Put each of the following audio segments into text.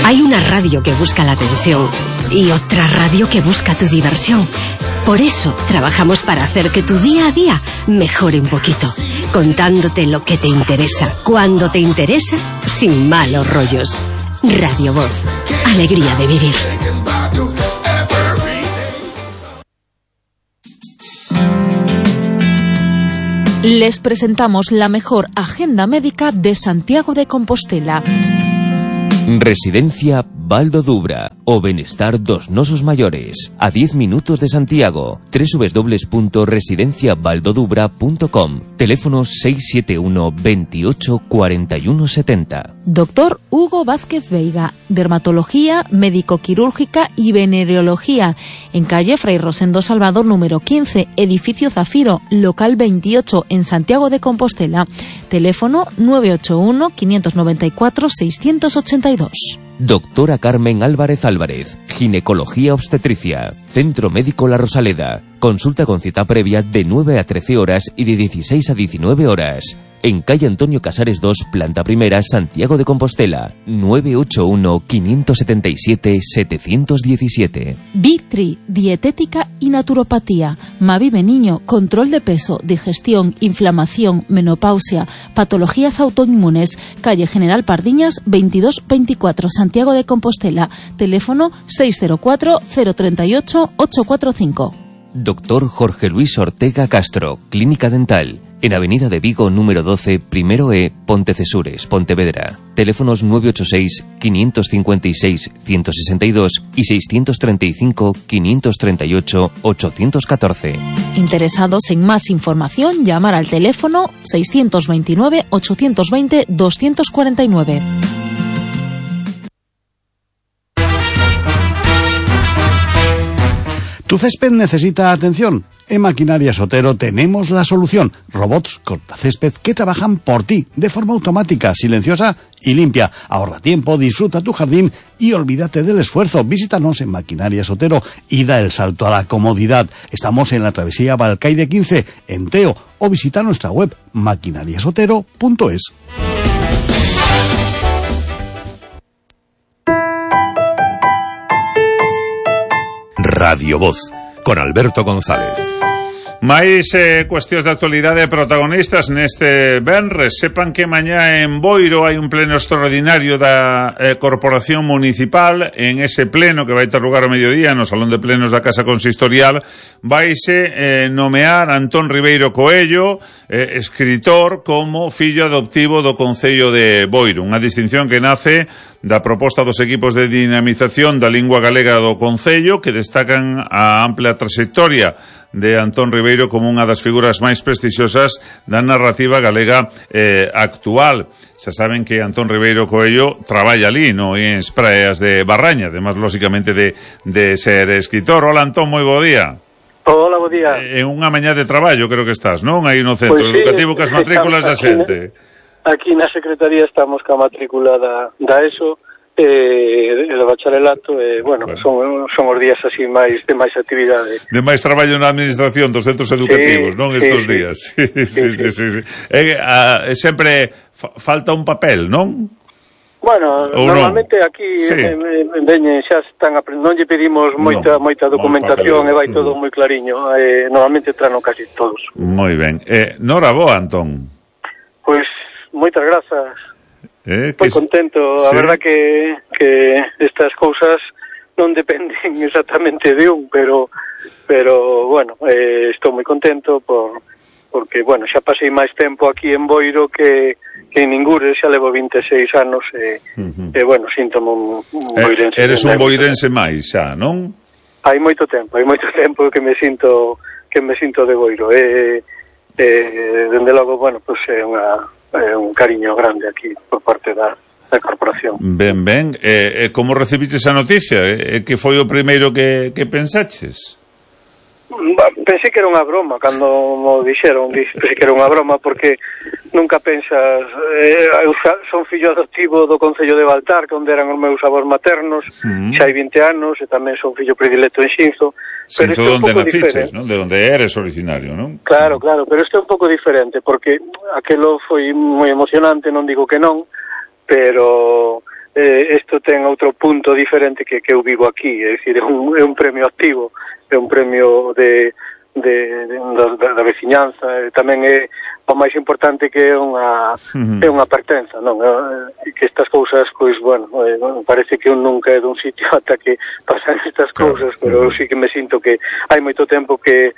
Hay una radio que busca la atención y otra radio que busca tu diversión. Por eso trabajamos para hacer que tu día a día mejore un poquito, contándote lo que te interesa, cuando te interesa, sin malos rollos. Radio Voz, alegría de vivir. Les presentamos la mejor agenda médica de Santiago de Compostela. Residencia Val do Dubra, o Benestar dos Nosos Maiores, a 10 minutos de Santiago. www.residenciavaldodubra.com. Teléfono 671 28 41 70. Doctor Hugo Vázquez Veiga, dermatología, médico-quirúrgica y venereología, en calle Fray Rosendo Salvador número 15, edificio Zafiro, local 28, en Santiago de Compostela. Teléfono 981 594 682. Doctora Carmen Álvarez Álvarez, ginecología obstetricia, Centro Médico La Rosaleda. Consulta con cita previa de 9 a 13 horas y de 16 a 19 horas. En calle Antonio Casares 2, planta primera, Santiago de Compostela. 981-577-717. Vitri, dietética y naturopatía. Mavive Niño, control de peso, digestión, inflamación, menopausia, patologías autoinmunes. Calle General Pardiñas 2224, Santiago de Compostela. Teléfono 604-038-845. Doctor Jorge Luis Ortega Castro, Clínica Dental. En Avenida de Vigo, número 12, primero E, Pontecesures, Pontevedra. Teléfonos 986-556-162 y 635-538-814. Interesados en más información, llamar al teléfono 629-820-249. ¿Tu césped necesita atención? En Maquinarias Otero tenemos la solución. Robots cortacésped que trabajan por ti, de forma automática, silenciosa y limpia. Ahorra tiempo, disfruta tu jardín y olvídate del esfuerzo. Visítanos en Maquinarias Otero y da el salto a la comodidad. Estamos en la travesía Balcaide 15, en Teo, o visita nuestra web maquinariasotero.es. Radio Voz, con Alberto González. Mais cuestións de actualidade protagonistas neste venres. Sepan que mañá en Boiro hai un pleno extraordinario da Corporación Municipal. En ese pleno, que vai ter lugar ao mediodía no Salón de Plenos da Casa Consistorial, vaise nomear Antón Ribeiro Coello, escritor, como fillo adoptivo do Concello de Boiro. Unha distinción que nace da proposta dos equipos de dinamización da lingua galega do Concello, que destacan a ampla trayectoria de Antón Ribeiro como unha das figuras máis prestixiosas da narrativa galega actual. Xa saben que Antón Ribeiro Coello traballa ali, no en Praias de Barraña, además, lóxicamente, de ser escritor. Hola, Antón, moi bo día. Hola, bo día. En unha mañá de traballo, creo que estás, non? Aí no centro educativo cas matrículas da xente. Aquí na Secretaría estamos ca matrícula da ESO, do bacharelato, bueno, son os días así máis de máis actividade. De máis traballo na administración dos centros educativos, non? Estos días. Sí. Sempre falta un papel, non? Bueno, ou normalmente non? Aquí veñen, xa están non lle pedimos moita documentación e vai todo moi clariño. Normalmente trano casi todos. Moi ben. Nora boa, Antón. Pois moitas grazas. Moi contento, a verdad que estas cousas non dependen exactamente de un, pero bueno, estou moi contento porque, bueno, xa pasei máis tempo aquí en Boiro que en Ningures, xa levo 26 anos e bueno, síntome un boirense. Eres un boirense máis xa, non? Hai moito tempo que me sinto de Boiro. Dende logo, bueno, pois é un cariño grande aquí por parte da corporación. Ben. Como recibiste esa noticia? Que foi o primeiro que pensaches? Pensei que era unha broma cando mo dixeron, pensei que era unha broma porque nunca pensas, eu son fillo adoptivo do Concello de Baltar, onde eran os meus avós maternos, xa hai 20 anos, e tamén son fillo predilecto en Xinzo. Xinzo onde naciches, non? De onde eres originario, non? Claro, pero isto é un pouco diferente, porque aquelo foi moi emocionante, non digo que non, pero isto ten outro punto diferente que eu vivo aquí, é dicir, é un premio activo, é un premio da veciñanza, tamén é o máis importante que é unha pertenza, non? Que estas cousas, pois, bueno, parece que un nunca é dun sitio ata que pasan estas cousas, pero eu sí que me sinto que hai moito tempo que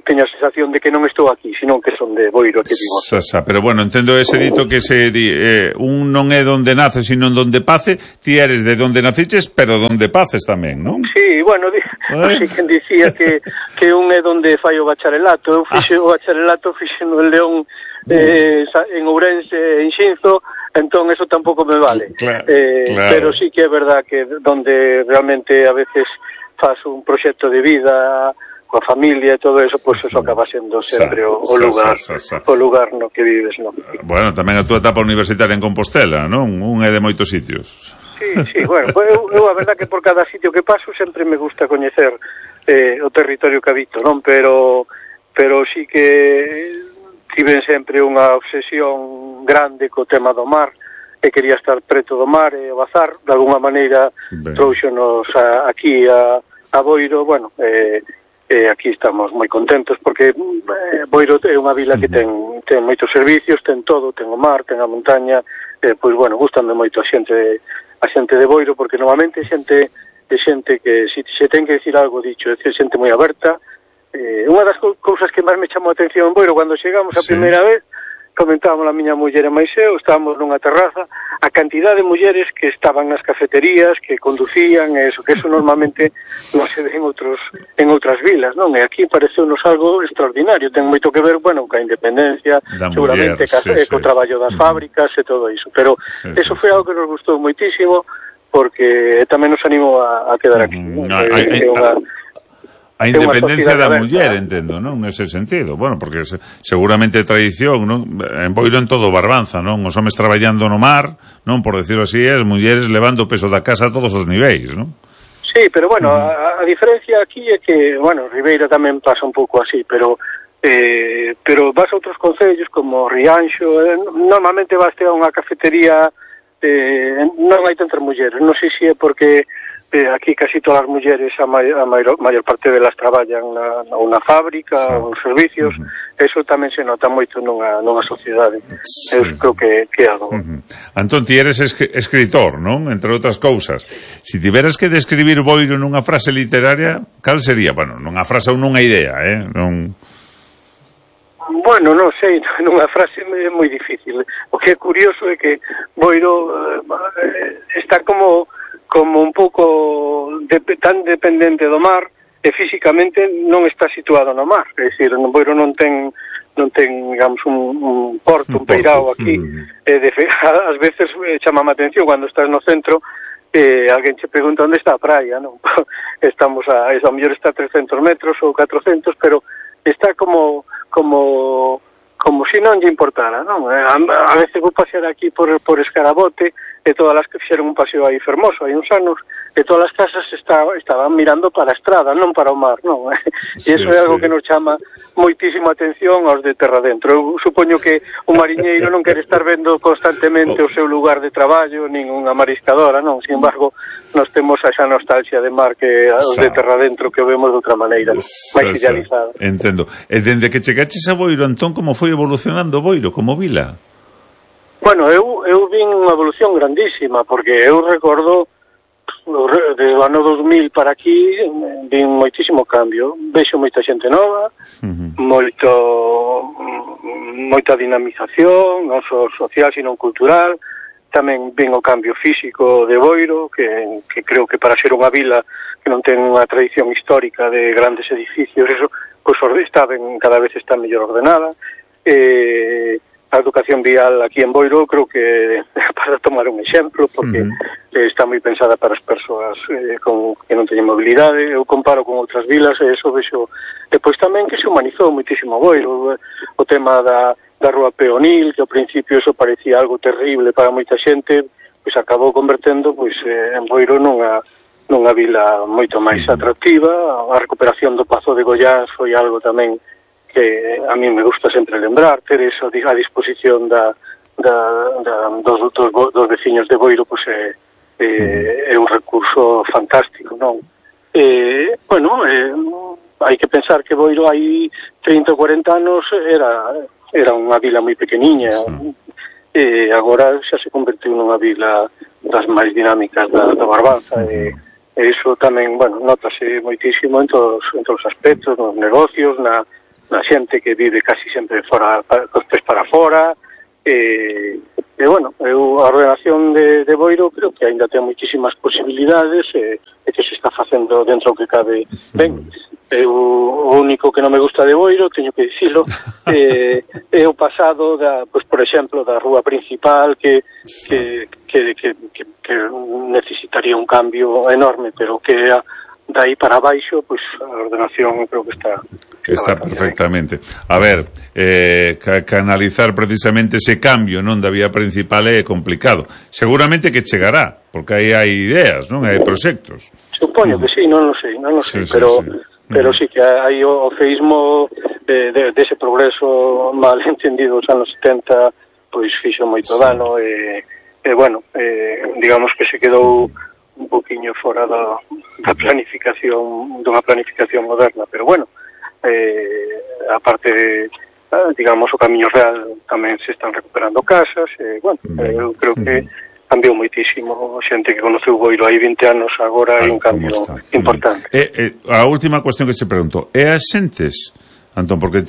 teño a sensación de que non estou aquí, senón que son de Boiro, que digo. Pero bueno, entendo ese dito que se di, un non é donde nace, sino donde pace. Ti eres de donde naciches, pero donde paces tamén, non? Sí, bueno, non sei quen dicía que un é donde fai o bacharelato. Eu fixe o bacharelato, fixe no León, en Ourense, en Xinzo, entón eso tampouco me vale. Claro. Pero sí que é verdad que donde realmente a veces faz un proxecto de vida coa familia e todo eso, pois eso acaba sendo sempre o lugar no que vives, non? Bueno, tamén a túa etapa universitaria en Compostela, non? Un é de moitos sitios. Sí, bueno, eu a verdad que por cada sitio que paso sempre me gusta coñecer o territorio que habito, non? Pero sí que tiven sempre unha obsesión grande co tema do mar, e quería estar preto do mar e o bazar, de alguna maneira trouxonos aquí a Boiro, bueno, aquí estamos moi contentos porque Boiro é unha vila que ten moitos servicios, ten todo, ten o mar, ten a montaña, pois bueno, gustame moito a xente de Boiro porque normalmente xente que se ten que decir algo dicho, é xente moi aberta. Unha das cousas que máis me chamou a atención en Boiro cando chegamos a primeira vez, comentábamos a miña muller e máis eu, estábamos nunha terraza, a cantidad de mulleres que estaban nas cafeterías, que conducían, que eso normalmente non se ve en outras vilas, non? E aquí pareceunos algo extraordinario, ten moito que ver, bueno, coa independencia, seguramente co traballo das fábricas e todo iso, pero eso foi algo que nos gustou moitísimo, porque tamén nos animou a quedar aquí. A independencia da muller, entendo, non? Nese sentido. Bueno, porque seguramente tradición, non? En Boiro en todo Barbanza, non? Os homes traballando no mar, non? Por decirlo así, as mulleres levando o peso da casa a todos os niveis, non? Sí, pero bueno, a diferencia aquí é que, bueno, Ribeira tamén pasa un pouco así, pero vas a outros concellos como Rianxo, normalmente vas a unha cafetería, non hai tantas mulleres, non sei se é porque aquí casi todas as mulleres, a maior parte delas traballan na fábrica, nos servicios, eso tamén se nota moito nunha sociedade. Eu creo que é algo. Antón, ti eres escritor, non? Entre outras cousas. Si tiveras que describir Boiro nunha frase literaria, cal sería? Bueno, nunha frase ou nunha idea, non... Bueno, non sei, nunha frase é moi difícil. O que é curioso é que Boiro está como un pouco tan dependente do mar e físicamente non está situado no mar, é dicir, Boiro non ten, digamos, un porto, un peirao aquí, ás veces chamame a atención cando estás no centro, alguén che pregunta onde está a praia, non? Estamos a mellor está a 300 metros ou 400, pero está como se non lle importara, non? A veces vou pasear aquí por Escarabote e todas as que fixeron un paseo aí fermoso, hai uns anos, e todas as casas estaban mirando para a estrada, non para o mar, non? E iso é algo que nos chama moitísimo atención aos de terra dentro. Eu supoño que o mariñeiro non quere estar vendo constantemente o seu lugar de traballo, nin unha mariscadora, non? Sin embargo, nós temos esa nostalgia de mar que os de terra dentro que o vemos de outra maneira, máis idealizada. Entendo. E dende que chegaches a Boiro, Antón, como foi evolucionando Boiro como vila? Bueno, eu vin unha evolución grandísima, porque eu recordo desde o ano 2000 para aquí vin moitísimo cambio, vexo moita xente nova, moita dinamización, non só social, sino cultural, tamén vin o cambio físico de Boiro, que creo que para ser unha vila que non ten unha tradición histórica de grandes edificios, eso, pois cada vez está mellor ordenada, a educación vial aquí en Boiro creo que para tomar un exemplo porque está moi pensada para as persoas que non teñen mobilidade. Eu comparo con outras vilas e eso vexo depois tamén que se humanizou moitísimo Boiro, o tema da rúa peonil, que ao principio eso parecía algo terrible para moita xente, pois acabou convertendo en Boiro nunha vila moito máis atractiva. A recuperación do Pazo de Goiás foi algo tamén que a mí me gusta sempre lembrar, ter eso a disposición da dos veciños de Boiro, pois é un recurso fantástico, non? Hai que pensar que Boiro hai 30 ou 40 anos era unha vila moi pequeniña, e agora xa se convertiu nunha vila das máis dinámicas da Barbanza, e iso tamén, notase moitísimo en todos os aspectos, nos negocios, na xente que vive casi sempre fora, cos pés para fora, a ordenación de Boiro creo que ainda ten moitísimas posibilidades, e que se está facendo dentro do que cabe ben. O único que non me gusta de Boiro, teño que dicilo, é o pasado por exemplo, da rúa principal que necesitaría un cambio enorme, pero que de aí para baixo, pois a ordenación creo que está perfectamente. A ver, canalizar precisamente ese cambio non da vía principal é complicado. Seguramente que chegará, porque aí hai ideas, non? Hai proxectos. Supoño que sí, non lo sei, pero sí que hai o feísmo dese progreso mal entendido os anos 70, pois fixo moito dano, digamos que se quedou un poquinho fora da planificación, dunha planificación moderna, pero aparte, digamos, o Camiño Real tamén se están recuperando casas, eu creo que cambiou moitísimo. Xente que conoceu Boiro hai 20 anos, agora hai un cambio importante. A última cuestión que se pregunto, é as xentes, Antón, porque